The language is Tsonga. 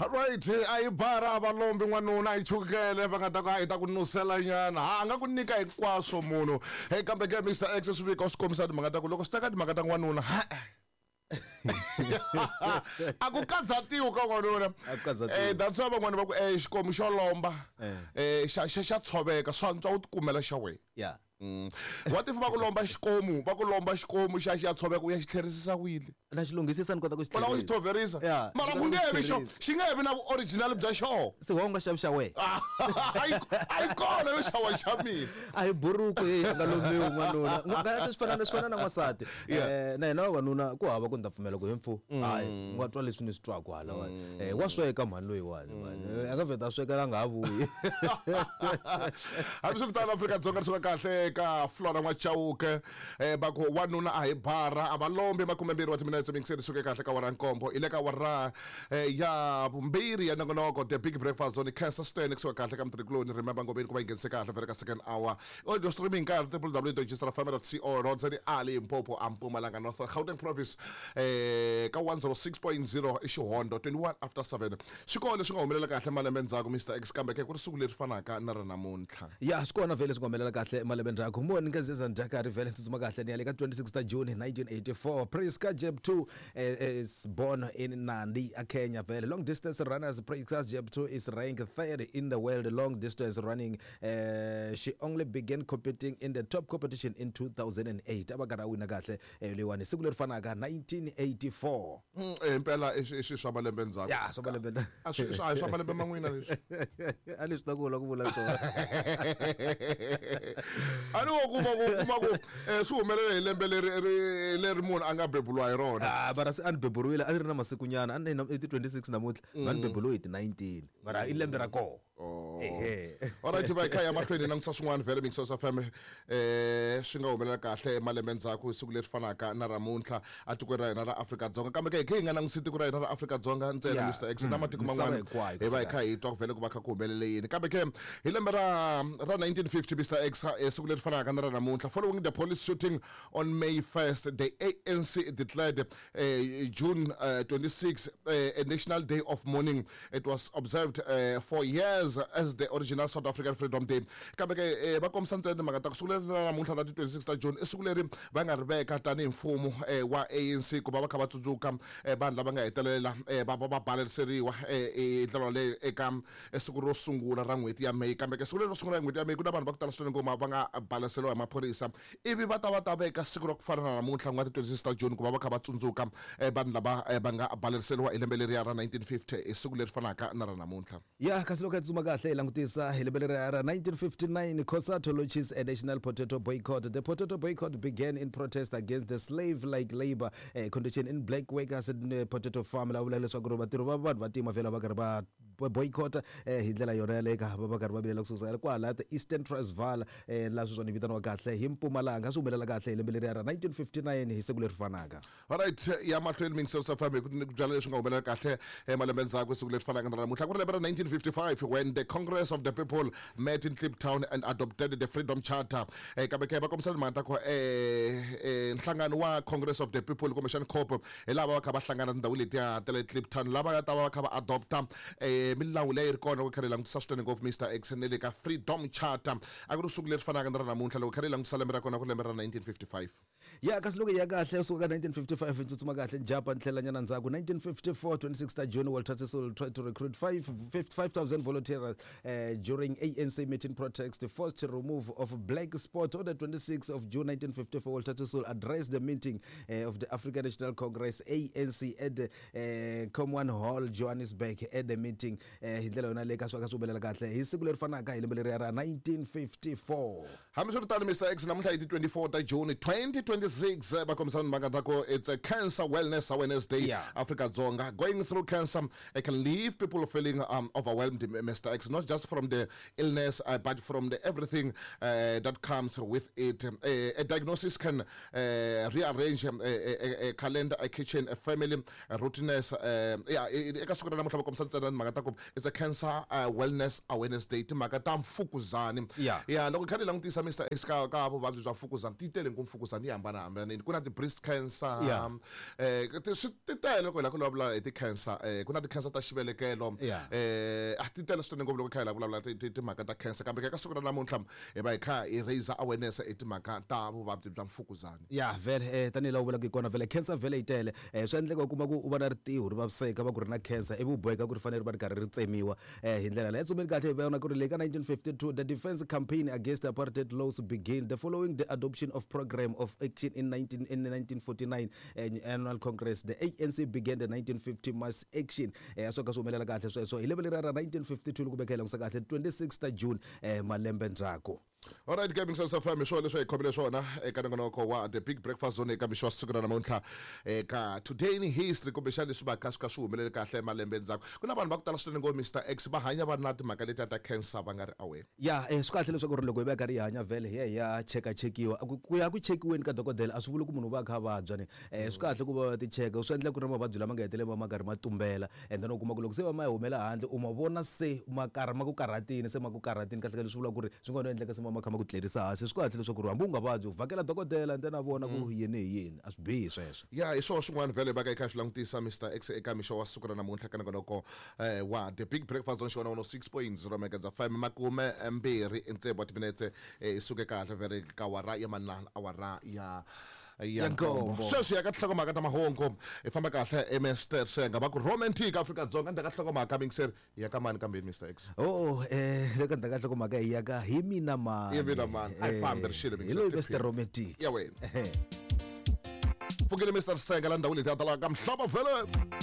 Alright, a yi bara valombi n'wanuna a yi chukele va nga ta ku a yi ta ku nusela nyana ha a nga ku nyika hinkwaswo munhu hey kambe ke Mr X swi vika swi kombisa timhaka ta ku loko swi ta ka timhaka ta n'wanuna ha a ku katsatiwi ka n'wanuna A ku katsatiwi. Eh, that's why van'wana va ku eh xikomu xo lomba Eh. eh xa xa xa tshoveka swantswa u tikumela xa wena ya What if va ku lomba xikomu va ku lomba xikomu xa xi ya tshoveka u ya xi tlherisisa wile na xi lunghisisa ni kota ku xi u lava ku xi tlherisa. tshoverisa Yeah, mara ni ku kota nge ku vi xi xo tlherisa. xi nge vi na vu-original bya xona se wa u nga xavi xa wena a yi kona yo xava xa mina a hi buruku ye a nga lombiwi n'wanuna swi fana swi fana na n'wansati Yeah. Eh, na hina vavanuna ku hava ku ni ta pfumela ku he mfu hayi u nga twa leswi ni swi twaku halawani Eh, wa sweka mhani loyiwani mhani Eh, a nga vheta a sweka la nga ha vuyi hambiswiritano Afrika-Dzonga ri suka kahle ka Flora N'wachauke va ku wanuna a hi bara a va lombi makumembirhi wa timinetse mingiseri suke kahle ka wara nkombo hi le ka wara ya vumbirhi ya nongonoko the big breakfast zone cancer stand kusuka kahle ka mutirhikuloni remember ngobeni ku va yi nghenise kahle vhele ka second hour audio streaming ka www.gsrfm.co.za ali Limpopo a Mpumalanga North Gauteng province ka 106.0 i xihondo 21 after 7 swi kona leswi nga humelela kahle malembe ndzhaku Mr X kambe ke ku ri siku leri fanaka na ra namuntlha ya swi kona vhele swi nga humelela kahle malembe ndzhaku moni nga zeza njakari vhele tsutsuma kahle ni ya le ka 26 ta June 1984 Priska Jeptoo is born in Nandi a Kenya vhele long distance runners Priska Jeptoo is ranked third in the world long distance running she only began competing in the top competition in 2008 a va karhi a wina kahle leyiwani siku leri fanaka 1984 Impela i swi swa malembe ndzhaku ya swa malembe a swi a hi swa malembe man'wina leswi a leswi ta ku vula ku vula swona a ni wo kuma ku kuma ku swi humelele hi lembe leri leri munhu a nga beburiwa hi rona Ah, mara se a ni beburiwile a ni ri na masikunyana a ni i ti 26 namuntlha va ni beburiwe hi ti 19 mara i lembe ra koho ehe alright va hi kha hi ya mahlweni hi langutisa swin'wana vhele Mixos FM swi nga humelela kahle malembe ndzhaku hi siku leri fanaka na ramuntlha etikweni ra hina ra Afrika-Dzonga kambe ke hi khe hi nga langutisi tiko ra hina ra Afrika-Dzonga ntsena Yeah. Mr X na matiko Misava man'wana hinkwayo, hi va hi kha hi twa ku vhele ku va kha ku humelele yini kambe ke hi lembe ra 1950 Mr X siku leri fanaka na ra namuntlha following the police shooting on May 1st the ANC declared June 26 a national day of mourning it was observed for years as the original South African Freedom Day kambe ke va kombisa ntsena timhaka ta ku siku leri ra namuntlha ra ti 26 ta June i siku leri va nga ri veka tanihi mfumo wa ANC ku va va kha va tsundzuka vanhu lava nga hetelela va va baleriseriwa hi ndlela yaleyo eka siku ro sungula ra n'hweti ya May kambe ke siku leri ro sungula n'hweti ya May ku na vanhu va ku tala swinene ngoma va nga baleseriwa hi maphorisa ivi va ta va ta veka siku ra ku fana na namuntlha ku nga ti 26 ta June ku va va kha va tsundzuka vanhu lava va nga baleriseriwa hi lembe leriya ra 1950 hi siku leri fanaka na ra namuntlha ya kasi loko hi tsutsuma kahle hi langutisa hi lembe leriya ra 1959 COSATU launches a national potato boycott the potato boycott began in protest against the slave like labor condition in black workers in potato farm la vula leswaku ri vatirhi va vanhu va tima vhela va karhi va boycott hi ndlela yona yaleyo ka va va karhi va vilela kusuka kwala the Eastern Transvaal laha sweswiwani yi vitaniwa kahle hi Mpumalanga swi humelela kahle hi lembe leriya ra 1959 hi siku leri fanaka alright ya mahlweni mingiselo FM hi ku ni ku byala leswi nga humelela kahle malembe ndzhaku siku leri fanaka na namuntlha ku ri lembe ra 1955 when the Congress of the People met in Kliptown and adopted the Freedom Charter kambe ke va kombisa timhaka ta ku nhlangano wa Congress of the People kumbexani COP hi lava va kha va hlangana tindhawu letiya ta le Kliptown lava nga ta va va kha va adopta milawu leyi ri kona loko kha ri langutisa swinene ngopfu Mr X ne le ka Freedom Charter a ku ri siku leri fanaka na ra namuntlha loko kha ri langutisa lembe ra kona ku ri lembe ra 1955 ya kasi loko hi ya kahle usuka ka 1955 hi tsutsuma kahle njapa ni tlhela nyana ndzhaku 1954 26 ta June Walter Sisulu tried to recruit 5,000 volunteers during ANC meeting protest forced remove of black spot on the 26th of June 1954 Walter Sisulu addressed the meeting of the African National Congress ANC at the Common Hall Johannesburg at the meeting hi ndlela yona leyi ka swi ka swi humelela kahle hi siku leri fanaka hi lembe leriya ra 1954 hambiswiritano Mr X namuntlha hi ti 24 ta June 2026 va kombisa timhaka ta ku it's a cancer wellness awareness day Yeah. Afrika Dzonga going through cancer it can leave people feeling overwhelmed Mr X not just from the illness but from the everything that comes with it a diagnosis can rearrange a calendar a kitchen a family a routines yeah eka siku ra namuntlha va kombisa ntsena timhaka ta ku it's a cancer wellness awareness day timhaka ta mfukuzani Yeah. ya loko kha ni langutisa Mr X ka vuvabyi bya mfukuzani ti tele ngopfu mfukuzani yi hambana hambanahambanini. Ku na ti-breast cancer, swi ti tele loko hi lava ku vulavula hi ti-cancer. Ku na ti-cancer ta xivelekelo. A ti tele swinene ngopfu loko hi kha hi lava ku vulavula timhaka ta cancer, kambe ka siku ra namuntlha hi va hi kha hi raise awareness hi timhaka ta vuvabyi bya mfukuzani. Ya, vhele tanihi laha u vulaka hi kona, vhele cancer vhele yi tele. Swa endleka u kuma ku u va na ritiho ri vaviseka, va ku ri na cancer, ivi u boheka ku ri fanele ri va ri karhi ri tsemiwa. Hi ndlela leyi tsumeni kahle, hi vona ku ri le ka 1952 the defense campaign against apartheid laws begin the following the adoption of program of action in 1949 annual congress. The ANC began the 1950 mass action. A swo ka swi humelela kahle sweswo hi lembe leriya ra 1952, loko veka hi langutisa kahle 26 ta June, malembe ndzhaku. Alright ke, Mixo FM, hi swona leswi hi khomile swona eka nongonoko wa The Big Breakfast Zone eka mixo wa siku ra namuntlha, eka Today in History, kumbexana leswi va kha swi kha swi humelele kahle malembe ndzhaku. Ku na vanhu va ku tala swinene ngo Mr X va hanya va ri na timhaka letiya ta cancer va nga ri aware. Ya, swi kahle leswaku ri loko hi va karhi hi hanya, vhele hi ya hi ya chekachekiwa. Ku ya ku chekiweni ka dokodela a swi vuli ku munhu u va a kha a vabya ni. Swi kahle ku va va ti cheka, swi endla ku ri na mavabyi lama nga hetelela ma karhi ma tumbela, and then u kuma ku loko se va ma humela handle, u ma vona se ma karha ma ku karhatini, se ma ku karhatini kahle kahle. Swi vula ku ri swi nga no endleka se ma ma kha ma ku tlerisa hansi. Swi kahle leswaku ri hambi u nga vabyi, u vhakela dokodela and then a vona ku yini hi yini. A swi bihi sweswo. Ya, hi swona swin'wana vhele va ka hi kha hi swi langutisa, Mr X, eka mixo wa siku ra namuntlha ka nongonoko wa The Big Breakfast Zone, xona 106.0 megahertz FM, 26 wa timinetse hi suke kahle vhele ka awara ya manana, awara ya Ya nkombo. nkombo. Sweswi ya ka tinhlokomhaka ta mahungu, hi famba kahle. Mr Senga va ku romantic Afrika-Dzonga, ndzhaku ka nhlokomhaka mingiseri ya ka mani kambeni, Mr X? Oh, loko ndzhaku ka nhlokomhaka hi ya ka hi mina mani. Hi mina mani. A hi fambi, ri xile, hi loyi mingiseri. Mr Romantic. Ya wena pfukile, Mr Senga, la ndhawu leti ya talaka ka mhlava vhele.